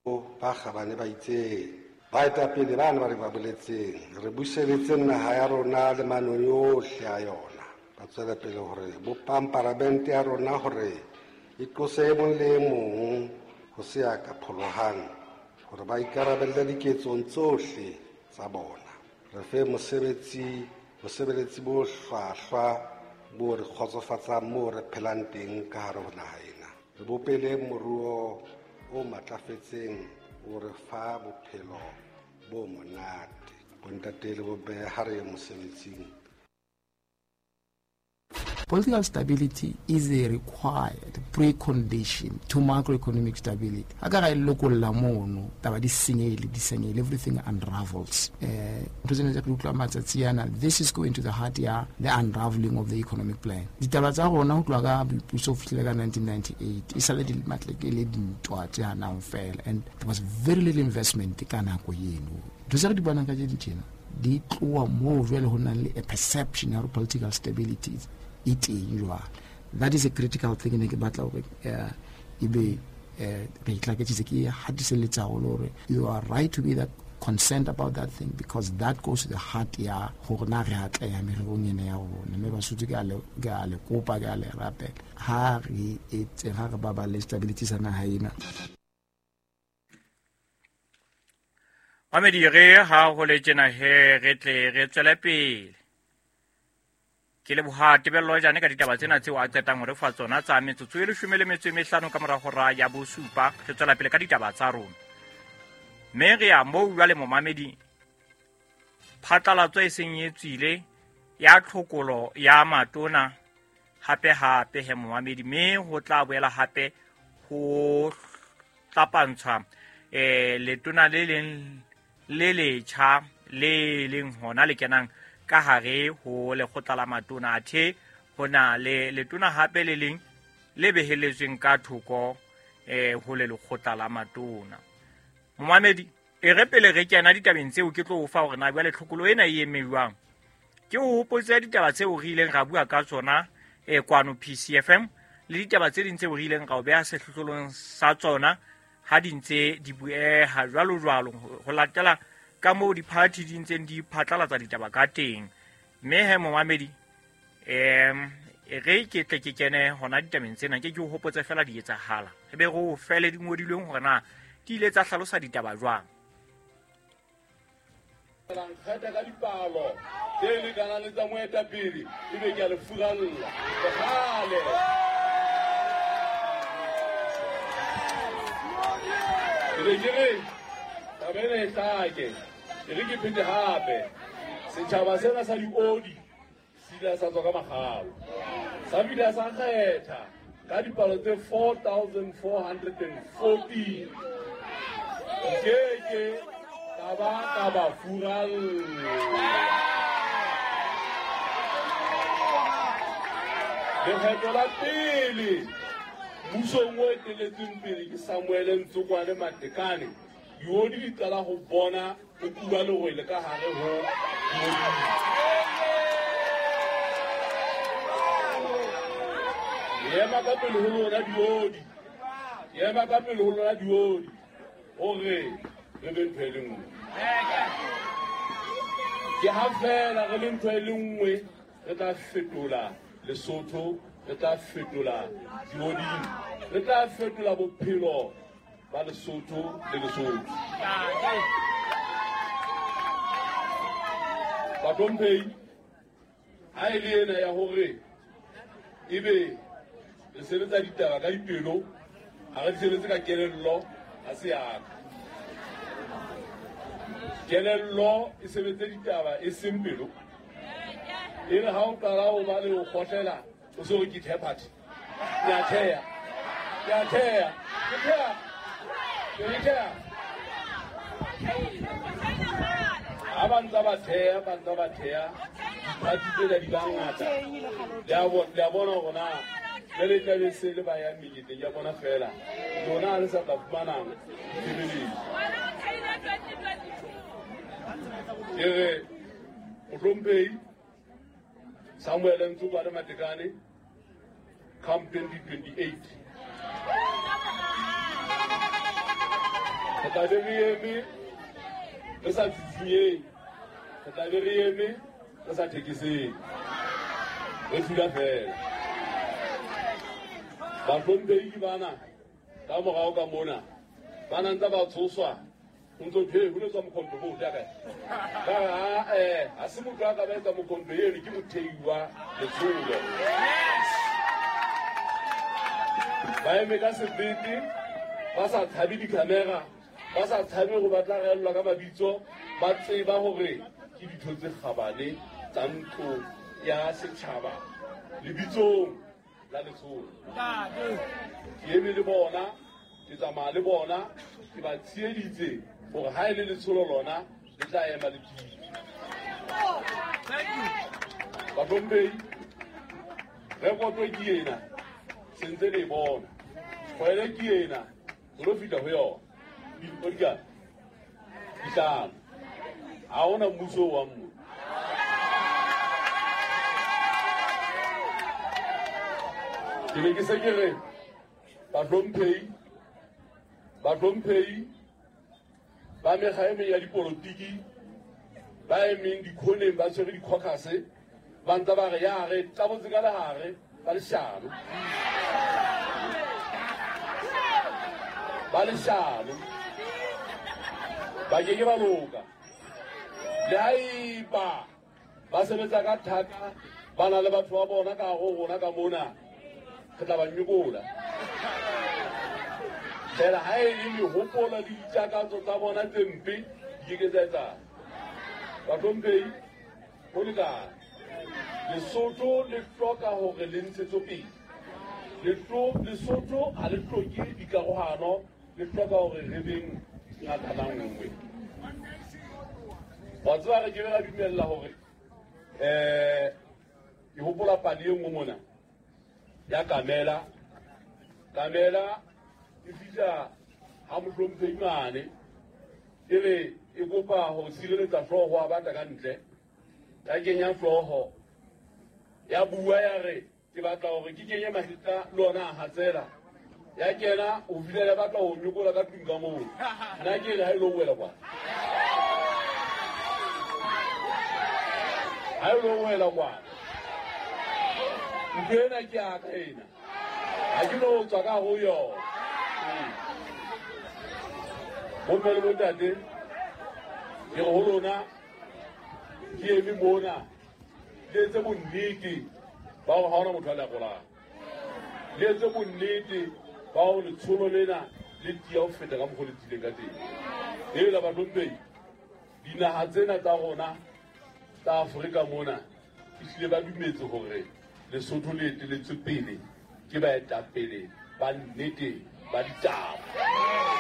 Ba kgabane ba itseng baetapele bana ba re ba boletseng re buseletse naha ya rona le manong yohle a yona. Ba tswela pele hore bopang paramente ya rona hore e qose e mong le e mong ho se ya ka pholohang hore ba ikarabelle diketsong tsohle tsa bona. Re fe mosebetsi bosebeletsi bo hlwahlwa bo re kgotsofatsang moo re phelang teng ka hare ho naha ena. Re bopele moruo o matlafetseng o re fa bophelo bo monate. Bontate le bomme ha re ye mosebetsing. Political stability is a required precondition to macroeconomic stability. Ha ka ra e lokolla mono, taba di senyehile, di senyehile, everything unravels. Ntho tsena tse re utlwa matsatsi ana, this is going to the heart ya the unraveling of the economic plan. Ditaba tsa rona ho tloha ka boipuso ho fihlela ka 1998, e sale di matleke le dintwa tse hanang fela, and there was very little investment ka nako eno. Ntho tse re di bonang ka tse tjena di tloha moo jwale ho nang le a perception ya hore political stability e teng jwale. That is a critical thing ne ke batla hore ebe re itlaketsitse, ke hatiselletsa haholo hore you are right to be that concerned about that thing, because that goes to the heart ya hore na re atleha mererong ena ya rona. Mme Basotho ke a le, ke a le kopa, ke a le rapela, ha re etse, ha re baballe stability sa naha ena. Mamedi, re ha ho le tjena he, re tle re tswele pele. Ke leboha Tebello Jane ka ditaba tsena tseo a qetang ho re fa tsona tsa metsotso e leshome le metso e mehlano ka mora hora ya bosupa. Re tswela pele ka ditaba tsa rona. Mme re ya moo jwale momamedi, phatlalatso e seng e tswile ya tlhokolo ya matona hape hape he momamedi, mme ho tla boela hape ho tlapantshwa letona le leng le letjha le leng hona le kenang ka hare ho lekgotla la matona. Athe ho na le letona hape le leng le beheletsweng ka thoko ho le lekgotla la matona. Momamedi, e re pele re kena ditabeng tseo ke tlo o fa hore na jwale tlhokolo ena e eme jwang. Ke o hopotse ditaba tseo re ileng ra bua ka tsona kwano PCFM le ditaba tse ding tseo re ileng ra o beha sehlohlolong sa tsona ha di ntse di bueha jwalo jwalo ho latela ka moo di-party di ntseng di phatlalatsa ditaba ka teng. Mme he momamedi, e re ke tle ke kene hona ditabeng tsena, ke ke o hopotse fela di etsahala, re be re o fele di ngodilweng hore na di ile tsa hlalosa ditaba jwang. La nkgetha ka dipalo tse lekanang le tsa moetapele, ebe ke a le furalla. Kgale. Ke ne ke re, taba ena e hlake, e re ke phete hape. Setjhaba sena sa diodi se ile sa tswa ka makgalo, sa bile sa kgetha ka dipalo tse 4414. Nkeke ka ba ka ba furalla. Lekgetho la pele mmusong o eteletsweng pele ke Samuel Ntsokwane Matekane, diodi di qala ho bona ho kuba lerwele ka hare ho diodi. Ema ka pele ho lona diodi, ema ka pele ho lona diodi, hore re be ntho e le nngwe. Ke ha feela re le ntho e le nngwe, re tla fetola Lesotho, re tla fetola dioding, re tla fetola bophelo ba Lesotho le Lesotho. Bahlomphehi, ha e le ena ya hore ebe re sebetsa ditaba ka dipelo, ha re di sebetse ka kelello, ha se ya ka. Kelello e sebetse ditaba e seng pelo. E re ha o qala ho ba le ho kgohlela, o se o re ke the party. Ke a theha. Ke a theha. Ke theha. Ke re theha. Ha ba ntsa ba theha, ba ntsa ba theha, diphathi tsena di ba ngata. Le a le a bona hore na jwale e tlabe se le ba yang meketeng ya bona feela. Lona ha le sa tla fumana ditshebeletso. Ke re, Mohlomphehi Samuel Ntsokwane Matekane, come 2028. Re tla be re eme re sa tsitsinyeng, re tla be re eme re sa thekeseng, re thula fela. Bahlomphehi bana ka morao ka mona ba na ntse ba tshoswa, o ntso thwe ho letswa mokhonto bo ja kae? Ka ha se motho a ka ba etsa mokhonto eno, ke mothei wa letsholo. Ba eme ka sebete, ba sa tshabe dikhamera, ba sa tshabe go batla reellwa ka mabitso, ba tseba hore ke ditho tse kgabane tsa ntlo ya setjhaba lebitsong la letsholo. Ke eme le bona, ke tsamaya le bona, ke ba tsheheditse hore ha e le letsholo lona le tla ema le tiile. Bahlomphehi, rekoto ke ena, sentse le e bona. Kgwele ke ena, re lo fihla ho yona. Dikgwedi dihlano. Ha hona mmuso wa mmo. Ke ne ke se ke re bahlomphehi ba mekga e meng ya dipolotiki ba emeng dikhoneng ba tshwere di-caucus, ba ntse ba re ya re tabotse ka lehare, ba leshano. Ba leshano. Ba ke ke ba loka. Le haeba ba sebetsa ka thata, ba na le batho ba bona ka hare ho rona ka mona, re tla ba nyokola. Fela ha e le mehopolo le ditakatso tsa bona tse mpe di ke ke tsa etsahala. Bahlomphehi, ho lekane. Lesotho le hloka hore le ntshetsopele. Lesotho ha le hloke dikarohano, le hloka hore re beng ngatana nngwe. Wa tseba re ke be ra dumella hore ke hopola pale e nngwe mona ya Kamela. Kamela e fihla ha mohlomphehi mane, e re e kopa ho sireletsa hlooho a batla ka ntle. Ya kenya hlooho, ya bua ya re ke batla hore ke kenye mahetla le ona a hatsela. Ya kena o fihlela batla ho nyokola ka tlung ka moo. Nna ke re ha e lo wela kwana. Ha e lo wela kwana. Ntho ena ke ya ka ena. Ha ke no tswa ka ho yona. Bomme le bontate, ke re ho lona, ke eme mona, le etse bonnete ba hore ha hona motho a le arolang. Le etse bonnete ba hore letsholo lena le tiya ho feta ka mokgwa o le tiileng ka teng. Ela bahlomphehi, dinaha tsena tsa rona tsa Afrika mona ehlile ba dumetse hore Lesotho le eteletswe pele ke baetapele ba nnete ba ditaba.